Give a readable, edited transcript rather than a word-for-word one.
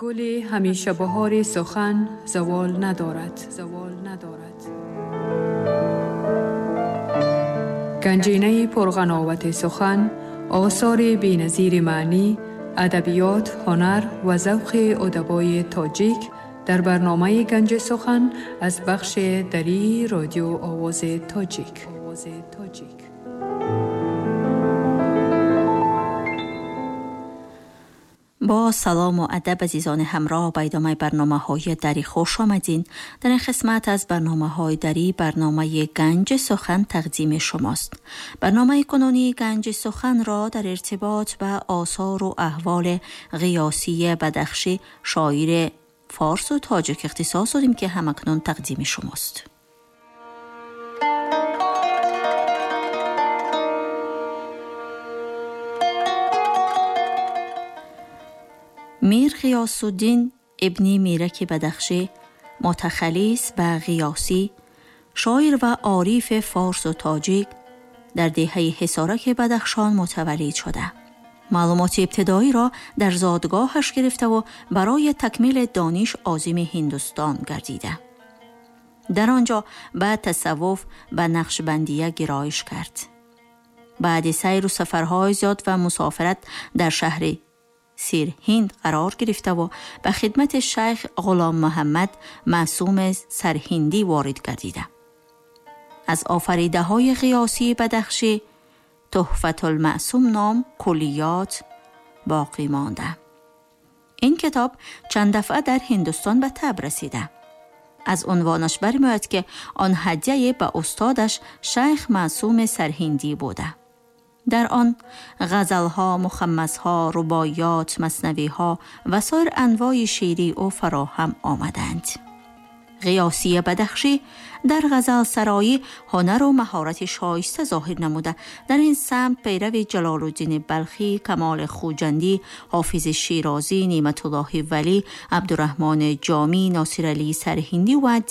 Гули ҳамеша баҳори сухан завол надорад. Ганҷинаи пурғановати сухан, осори беназири маънӣ, адабиёт, ҳунар ва завқи удабои тоҷик дар барномаи Ганҷи сухан аз бахши дарии радио Овози Тоҷик. Бо салому адаб азизони ҳамроҳ, ба идомаи барномаҳои дарӣ хуш омадин. Дар ин қисмат аз барномаҳои дарӣ барномаи Ганҷи сухан тақдими шумост. Барномаи кунунии Ганҷи суханро дар иртибот ба осору аҳволи Ғиёсии Бадахшӣ, шоири форсу тоҷик, ихтисос додем, ки ҳамакнун тақдими шумост. Мир Ғиёсуддин ибни Мираки Бадахшӣ, мутахаллис ба Ғиёсӣ, шоир ва орифи форсу тоҷик, дар деҳаи Ҳисораки Бадахшон мутаваллид шуда. Маълумоти ибтидоиро дар зодгоҳаш гирифтаву барои такмили дониш озими Ҳиндустон гардида. Дар он ҷо ба тасаввуф, ба нақшбандия гироиш кард. Баъди сайру сафарҳои зиёд ва мусофират дар шаҳри Сирҳинд қарор гирифтаву ба хидмати шайх Ғулом Муҳаммад Маъсуми Сарҳиндӣ ворид гардида. Аз офаридаҳои Ғиёсии Бадахшӣ Туҳфатулмаъсум ном куллиёт боқӣ монда. Ин китоб чанд дафъа дар Ҳиндустон ба таб расида. Аз унвонаш бармеояд, ки он ҳадяе ба устодаш шайх Маъсуми Сарҳиндӣ буда. Дар он ғазалҳо, мухаммасҳо, рубоиёт, маснавиҳо ва соир анвои шеърии ӯ фароҳам омаданд. Ғиёсии Бадахшӣ дар ғазалсароӣ ҳунару маҳорати шоиста зоҳир намуда, дар ин самт пайрави Ҷалолуддини Балхӣ, Камоли Хуҷандӣ, Ҳофизи Шерозӣ, Неъматуллоҳи Валӣ, Абдураҳмони Ҷомӣ, Носиралии Сарҳиндӣ ва